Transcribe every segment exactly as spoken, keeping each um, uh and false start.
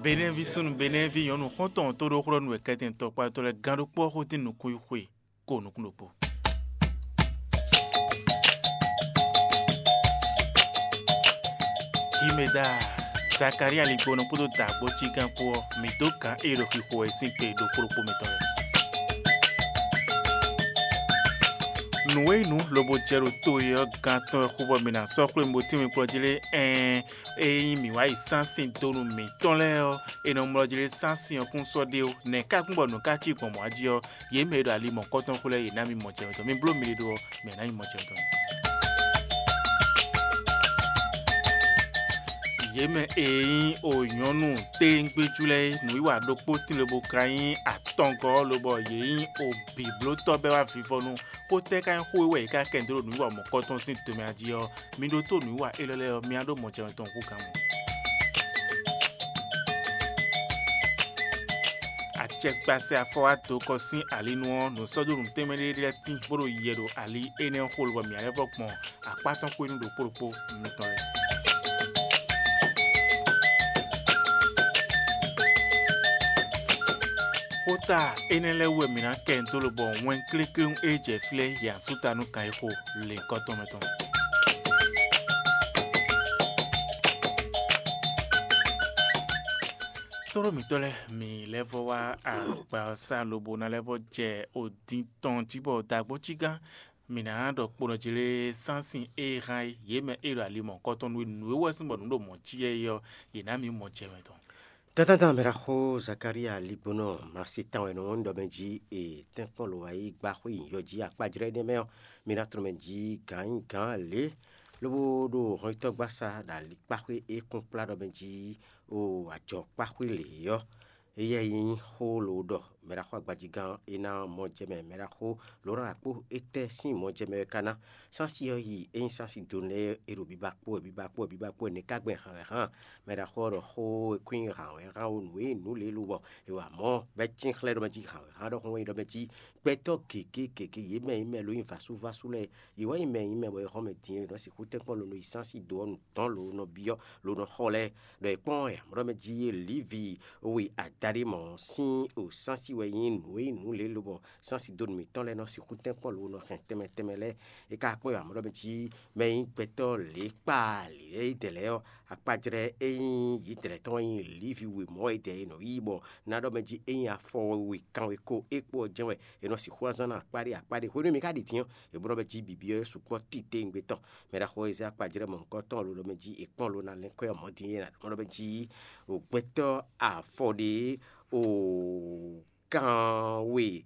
Benɛ́ví súnnu Benɛ́ví nyɔ̌nu xɔ́ntɔn tó ɖó xlɔ́ nú wɛ kɛtɛn tɔkpatɔ́ lɛ́ɛ gán ɖokpó ɔ́ xótín nukúnxwe kó nukúnnukpó. Himeda, Zakalía ligbɔnɔ kpódó dǎgbó cígán kpó ɔ́, mǐ dó gǎn e ɖo xixo wɛ sín gbe ɖokpó ɖokpó mitɔn lɛ́ɛ. Nǔ e nyí nǔ lobo jɛ ɖo to e ɔ́ gán tɔn wɛ xú bɔ mǐ ná sɔ́ xwlémú bó tínmɛ kplɔ́ jí lé? Ɛɛn, ényí mǐ wá yi sán sín donu mǐtɔn lɛ́ɛ ɔ́, è nɔ mlɔ́ jí lé sán sín ɔ́ kún sɔ́ ɖé ó. Nɛ̌ ka kún bɔ nǔ ka cí gbɔn mɔ̌ jí ɔ́, yě mɛ e ɖo ali mɔ̌kɔtɔn xwlɛ́ yě ná mì mɔ jɛ tɔn. Mi bló mi ɖe ɖó ɔ́, mɛ ná nyí mɔ jɛ tɔn. Yě mɛ e nyí o nyɔ̌nu téńgbéjú lɛ́ɛ é, nǔwiwa ɖokpó tín lobo ka nyí atɔngɔ́ lobɔ yě nyí o bǐblótɔ́ bɛ́ wá vivɔnu. Xó tɛ́ ka nyí xó e wɛ yě ká kɛ dó ɖo nǔwiwa mɔ̌kɔtɔn sín tomɛ jí ɔ́, mi ɖótó nǔwiwa élɔ́ lɛ́ɛ ɔ́, mi ná ɖó mɔ jɛ tɔn hú gǎn mɔ. Acɛkpasɛ afɔ wá dó kɔ sín ali nu ɔ́, nǔ sɔ́ dó nǔ tɛnmɛ ɖé lɛ́ɛ tín bó ɖo yɛ ɖo ali énɛ́ ɔ́ xo lobɔ mǐ ná lɛ́ vɔ gbɔn akpá tɔn xwé nú ɖokpó ɖokpó mitɔn lɛ́ɛ. Xóta énɛ́ lɛ́ɛ wú wɛ mǐ ná kɛ dó lobɔ wɛn klékléwún e jɛ flɛ́ yě asúta nú kan e xo lěnkɔ́ tɔn mɛ tɔn. Tlóló mǐtɔn lɛ́ɛ, mǐ lɛ́ vɔ wá agba ɔ́ sá lobo ná lɛ́ vɔ jɛ odin tɔn jí bɔ dǎgbó cí gán. Mǐ ná ɖɔ kponɔ jí lé sánsin e hán é, yě mɛ e ɖo ali mɔ̌kɔtɔn nú é nǔ e wɛ sín bɔ nǔ ɖo mɔ̌ cí yɛ é ɔ́, yě ná mǐ mɔ jɛ mɛ tɔn. Tátátá mɛ ɖaxó Zakalía ligbónɔ Masitan wɛ nɔ wɔn ɖɔ mɛ jí e tɛ́nkpɔ́n lo wá yi gbá xwé nyǐyɔ jí akpájlɛ́ énɛ́ mɛ ɔ́, mi ná tlɔ́n mɛ jí gǎn nyí gǎn lě, lobo ɖo hɔnyitɔ́gbasá ɖo alikpáxwé e kún kplá ɖɔ mɛ jí o ajɔkpáxwé lě ɔ́. Éyɛ́ nyí xó lǒ ɖɔ mɛɖaxó agbajigán e ná mɔ jɛ mɛ mɛɖaxó Lorán Akpó étɛ́ sín mɔ jɛ mɛ wɛ ka ná? Sánsi ɔ́ yi é nyí sánsi do nɛ́ e ɖo biba kpó wɛ biba kpó wɛ biba kpó wɛ nɛ̌ ka gbɛn hǎn wɛ hán? Mɛɖaxó ɔ́ ɖɔ xó e kún nyí hǎn wɛ hán o nǔ e nyí nǔ lě lobɔ è wa mɔ̌ bɔ é cín xlɛ́ ɖɔ mɛ jí hǎn wɛ hán ɖɔhun wɛ nyí ɖɔ mɛ jí gbɛtɔ́ gěgé gěgé yě mɛ nyí mɛ ló nyí vǎsúvású lɛ́ɛ, yě wɛ nyí mɛ nyí mɛ bɔ è xɔ mɛ din e è nɔ sixú tɛ́nkpɔ́n lo nɔ yi sánsi do ɔ́ nu dɔ̌n lo nɔ byɔ́ lo nɔ xɔ lɛ́ɛ. Ɖɔ è kpɔ́n amlɔ mɛ jí Livi we adaɖé mɔ̌ sín o sánsi wɛ nyí nǔ e nyí nǔ lě lobɔ sánsi donu mǐtɔn lɛ́ɛ nɔ sixú tɛ́nkpɔ́n lo nɔ hɛn tɛnmɛ tɛnmɛ lɛ́ɛ. É ka kpɔ́n amlɔ mɛ jí mɛ e nyí gbɛtɔ́ lě kpaa lě lɛ́ɛ yi dɛ lɛ́ɛ ɔ́, akpajlɛ́ e nyí yǐdɛlɛ̌ tɔn wɛ nyí Livi we mɔ̌ e dɛ è nɔ yí bɔ ná ɖɔ mɛ jí é nyí afɔ we kanwe ko é kpó ɔ́ jɛ́n wɛ è nɔ sixú azán ná akpá ɖé akpá ɖé. Hwenu e mi ka ɖi din ɔ́, è blɔ́ mɛ jí bǐbí ɔ́ sukpɔ́ titewungbe tɔn. Mɛ ɖaxó Ezia kpají ɖɔ mɔ̌hunkɔtɔn ló ɖɔ mɛ jí è kpɔ́n lo ná lɛ́n kɔ́ mɔ dín é ná ɖɔ mɛ jí o gbɛtɔ́ afɔ ɖé o kanwe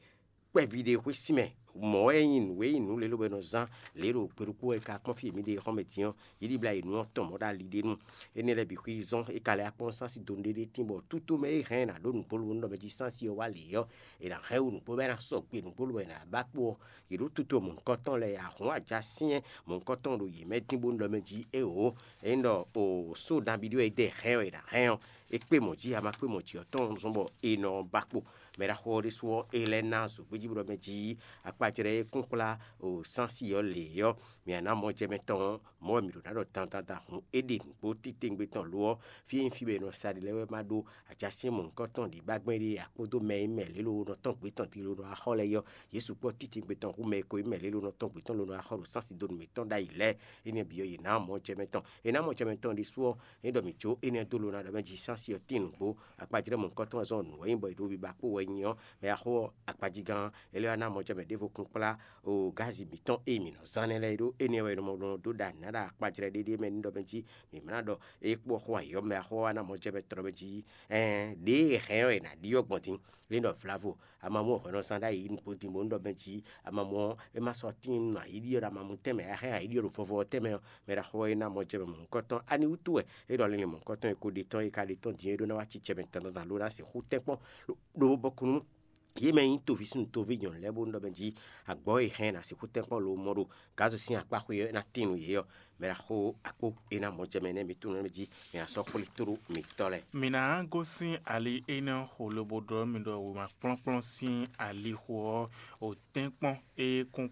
kpɛví ɖé xwé sin mɛ. Mɔ̌ wɛ nyí nǔ e nyí nǔ lě lobo è nɔ zán lě ɖo gbeɖokpó wɛ ka kpɔ́n fí e mǐ ɖe xɔ́mɛ din ɔ́, yě ɖibla yi nǔ ɔ́ tɔn mɔ̌ ɖo ali ɖé nu. Énɛ́ lɛ́ɛ bǐ xwí zɔ́n é ka lɛ́ akpɔ́n sánsi do ɖé ɖé tín bɔ tútú mɛ e hɛn ná ɖó nǔgbó lobɔ nú ɖɔ mɛ jí sánsi ɔ́ wá lě ɔ́, è nǎ hɛn wú nǔgbó bɔ é ná sɔgbe nǔgbó lobɔ è nǎ ba kpó ɔ́, yě ɖo tuto mɔ̌hunkɔtɔn lɛ́ɛ ahɔ̌n ajá syɛ́n mɔ̌hunkɔtɔn ɖo yě mɛ dín bónú ɖɔ mɛ jí éeǒ. Ényí ɖɔ o só nabí ɖé wɛ é dɛ hɛn ɔ́, è nǎ hɛn ɔ́, é kpé mɔ̌ jí a ma kpé mɔ̌ jí ɔ́ tɔn zɔn bɔ è nɔ ba kpo. Mɛ ɖaxó ɔ́ ɖésú ɔ́, é lɛ́ ná zǒgbéjí bó ɖɔ mɛ jí akpajlɛ́ e kún kplá o sánsi ɔ́ lě ɔ́, mǐ ná mɔ jɛ mɛ tɔn ɔ́, mɔ̌ wɛ mǐ ɖo ná ɖɔ dandan da hǔn é ɖe nǔgbó titewungbe tɔn lo ɔ́, fí e nyí fí bɔ è nɔ sa ɖi lɛ́ɛ wɛ ma ɖó ajasín mɔ̌hunkɔtɔn ɖě ba gbɛn ɖé akpódó mɛ e mɛ lě lo nɔ tɔn gbě tɔn din lo nɔ axɔ lɛ́ɛ ɔ́, Jezu kpɔ́ titewungbe tɔn hú mɛ e ko nyí mɛ lě lo nɔ tɔn gbě tɔn lo nɔ axɔ ɖo sánsi donu mǐtɔn ɖ'ayǐ lɛ́ɛ. Énɛ́ bǐ ɔ́, yě ná mɔ jɛ mɛ tɔn. È nǎ mɔ jɛ mɛ tɔn ɖésú ɔ́, é ɖɔ mǐ jó énɛ́ dó lo ná ɖɔ mɛ jí sánsi ɔ́ tín nǔgbó. Akpajlɛ́ mɔ̌hunkɔtɔn ɔ́ zɔn nǔ wɛ nyí bɔ è ɖo biba kpó wɛ nyi ɔ́, mɛ axó ɔ́, akpajigan ɔ́, é lɛ́ wá ná mɔ jɛ mɛ ɖěvo kún kplá o gázi mǐtɔn e mǐ nɔ zán nɛ́ lɛ́ɛ é ɖó. Énɛ́ wɛ è nɔ mɔ ɖɔ dó ɖa nǔ ná ɖo akpajlɛ́ ɖéɖé mɛ ní ɖɔ mɛ jí mǐ ma ná ɖɔ é kpó xó ayǐ ɔ́, mɛ axó ɔ́ wá ná mɔ jɛ mɛ tɔn ɖɔ mɛ jí ɛɛn ɖěe è hɛn ɔ́, è nǎ ɖi ɔ́ gbɔn din. Lě ɖɔ vlavo, ama mú hwɛ̌ nɔ zán ɖ'ayǐ nukpó din bó nú ɖɔ mɛ jí ama mɔ ɔ́, é ma sɔ́ tín nú ayǐ ɖiɖɔ ɖo ama mú tɛnmɛ, a hɛn ayǐ ɖiɖɔ ɖo vɔvɔ ɔ́ tɛnmɛ ɔ́, mɛ ɖaxó ɔ́ é ná mɔ jɛ mɛ mɔ̌hunkɔtɔn. Ani wútu wɛ é ɖɔ linlin mɔ̌hunkɔtɔn e ko ɖe tɔn e ka ɖe tɔn din é ɖó ná wá cí jɛ mɛ dandan lo ná sixú tɛ́nkpɔ́n ɖo bɔkúnú yě mɛ nyí toví súnnu toví nyɔ̌nu lɛ́ɛ bónú ɖɔ mɛ jí agbɔ̌ e hɛn ná sixú tɛ́nkpɔ́n lo mɔ ɖo Gazu sín akpá xwé ɔ́, é ná tín nú yě ɔ́, mɛ ɖaxó akpó é ná mɔ jɛ mɛ nɛ́ mi tunwun mɛ jí mi ná sɔ́ xwlí tlú mitɔ́ lɛ́ɛ. Mǐ ná gosín ali énɛ́ xo lobo ɖɔ mi ɖɔ wěma kplɔ́nkplɔ́n sín alixo ɔ́, o tɛ́nkpɔ́n e kún